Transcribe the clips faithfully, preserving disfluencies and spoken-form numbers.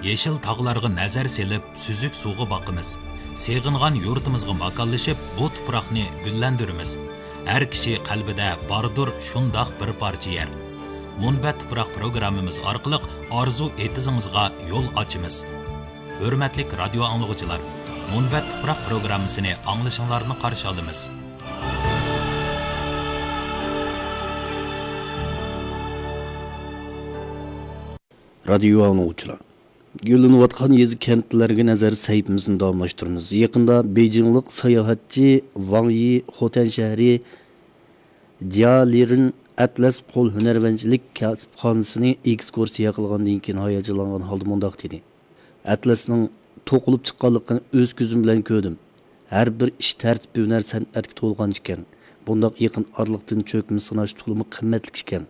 يېشىل تاغلارغا نەزەر سېلىپ، سۈزۈك سۇغا باقىمىز. سېغىنغان يۇرتىمىزغا ماكانلىشىپ، بۇ تۇپراقنى گۈللەندۈرىمىز. ھەر كىشى قەلبىدە باردۇر شۇنداق بىر پارچە يەر. مۇنبەت تۇپراق پروگراممىمىز ئارقىلىق ئارزۇ ئېتىزىڭىزغا يول ئاچىمىز. ھۆرمەتلىك رادىيو ئاڭلىغۇچىلار، مۇنبەت تۇپراق پروگراممىسىنى ئاڭلىشىڭلارنى قارشى ئالىمىز. رادىيو ئاڭلىغۇچىلار، گۈللىنىۋاتقان يېزا كەنتلەرگە نەزەر سەھىپىمىزنى داۋاملاشتۇرىمىز. يېقىندا بېيجىڭلىق ساياھەتچى ۋاڭ يى خوتەن شەھىرى جيالىرىن ئەتلەس قول ھۈنەرۋەنچىلىك كەسىپخانىسىنى ئېكسكۇرسىيە قىلغاندىن كېيىن ھاياجانلانغان ھالدا مۇنداق دېدى: ئەتلەسنىڭ توقۇلۇپ چىققانلىقىنى ئۆز كۆزۈم بىلەن كۆردۈم. ھەر بىر ئىش تەرتىپ ھۈنەر سەنئەتكە تولغان ئىكەن. بۇنداق يېقىن ئارىلىقتىن چۆكمە سىناش تولىمۇ قىممەتلىك ئىكەن.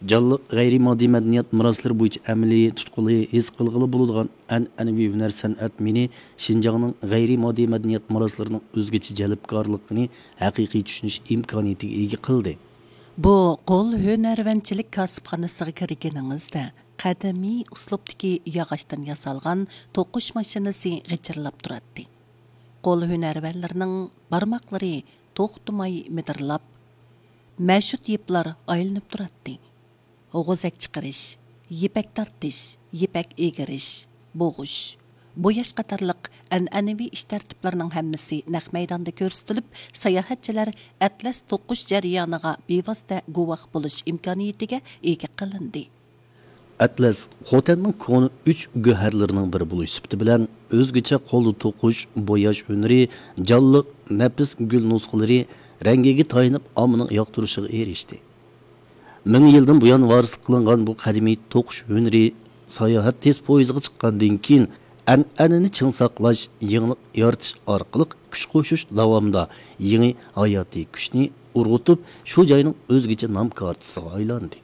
جانلىق غەيرىي ماددىي مەدەنىيەت مىراسلىرى بويىچە ئەمەلىي تۇتقىلى، ھېس قىلغىلى بولىدىغان ئەنئەنىۋى ھۈنەر سەنئەت مېنى شىنجاڭنىڭ غەيرىي ماددىي مەدەنىيەت مىراسلىرىنىڭ ئۆزگىچە جەلپكارلىقىنى ھەقىقىي چۈشىنىش ئىمكانىيىتىگە ئىگە قىلدى. بۇ قول ھۈنەرۋەنچىلىك كاسىپخانىسىغا كىرگىنىڭىزدە، قەدىمىي ئۇسلۇبتىكى ياغاچتىن ياسالغان توقۇش ماشىنىسى غىچىرلاپ تۇراتتى. قول ھۈنەرۋەنلىرىنىڭ بارماقلىرى توختىماي مىدىرلاپ، مەشۇت يىپلار ئايلىنىپ تۇراتتى. غوزەك چىقىرىش، يىپەك تارتىش، يىپەك ئېگىرىش، بوغۇش، بوياش قاتارلىق ئەنئەنىۋى ئىش تەرتىپلىرىنىڭ ھەممىسى نەق مەيداندا كۆرسىتىلىپ، ساياھەتچىلەر ئەتلەس توقۇش جەريانىغا بىۋاسىتە گۇۋاھ بولۇش ئىمكانىيىتىگە ئىگە قىلىندى. ئەتلەس خوتەننىڭ كونا ئۈچ گۆھەرلىرىنىڭ بىرى بولۇش سۈپىتى بىلەن، ئۆزگىچە قولدا توقۇش، بوياش ھۈنىرى، جانلىق، نەپىس گۈل نۇسخىلىرى رەڭگىگە تايىنىپ، ئاممىنىڭ ياقتۇرۇشىغا ئېرىشتى. مىڭ يىلدىن بۇيان ۋارىسلىق قىلىنغان بۇ قەدىمىي توقۇش ھۈنىرى ساياھەت تېز پويىزىغا چىققاندىن كېيىن، ئەنئەنىنى چىڭ ساقلاش، يېڭىلىق يارىتىش ئارقىلىق كۈچ قوشۇش داۋامىدا يېڭى ھاياتىي كۈچنى ئۇرغۇتۇپ، شۇ جاينىڭ ئۆزگىچە نام كارتىسىغا ئايلاندى.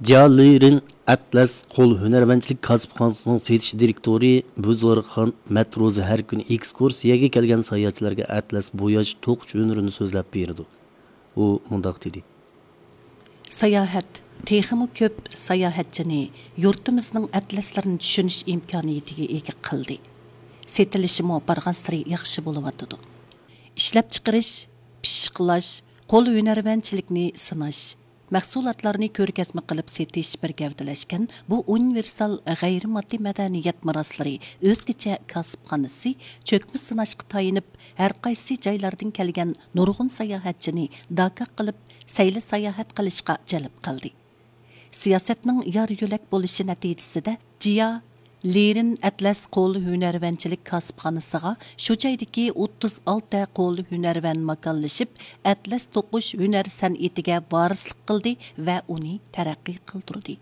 جيا لىرىن ئەتلەس قول ھۈنەرۋەنچىلىك كاسىپخانىسىنىڭ سېتىش دىرېكتورى بۇزۇرخان مەتروزى ھەر كۈنى ئېكسكۇرسىيەگە كەلگەن ساياھەتچىلەرگە ئەتلەس بوياش توقۇش ھۈنىرىنى سۆزلەپ بېرىدۇ. ئۇ مۇنداق دېدى. ساياھەت تېخىمۇ كۆپ ساياھەتچىنى يۇرتىمىزنىڭ ئەتلەسلىرىنى چۈشىنىش ئىمكانىيىتىگە ئىگە قىلدى. سېتىلىشىمۇ بارغانسېرى ياخشى بولۇۋاتىدۇ. ئىشلەپچىقىرىش، پىششىقلاش، قول ھۈنەرۋەنچىلىكىنى سىناش، مەھسۇلاتلارنى كۆرگەزمە قىلىپ سېتىش بىر گەۋدىلەشكەن بۇ ئۇنىۋېرسال غەيرىي ماددىي مەدەنىيەت مىراسلىرى ئۆزگىچە كاسىپخانىسى چۆكمە سىناشقا تايىنىپ، ھەرقايسى جايلاردىن كەلگەن نۇرغۇن ساياھەتچىنى داكاك قىلىپ، سەيلە ساياھەت قىلىشقا جەلپ قىلدى. سىياسەتنىڭ يار يۆلەك بولۇشى نەتىجىسىدە، جىيا لىرىن ئەتلەس قول ھۈنەرۋەنچىلىك كاسىپخانىسىغا شۇ جايدىكى ئوتتۇز ئالتە قول ھۈنەرۋەن ماكانلىشىپ، ئەتلەس توقۇش ھۈنەر سەنئىتىگە ۋارىسلىق قىلدى ۋە ئۇنى تەرەققىي قىلدۇردى.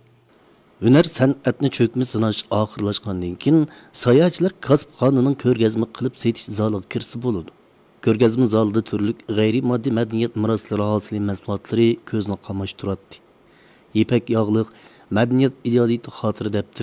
ھۈنەر سەنئەتنى چۆكمە سىناش ئاخىرلاشقاندىن كېيىن، ساياھەتچىلەر كاسىپخانىنىڭ كۆرگەزمە قىلىپ سېتىش زالىغا كىرسە بولىدۇ. كۆرگەزمە زالىدا تۈرلۈك غەيرىي ماددىي مەدەنىيەت مىراسلىرى ھاسىلى مەھسۇلاتلىرى كۆزنى قاماشتۇراتتى. يىپەك ياغلىق مەدەنىيەت ئىجادىيىتى خاتىرە دەپتىرى،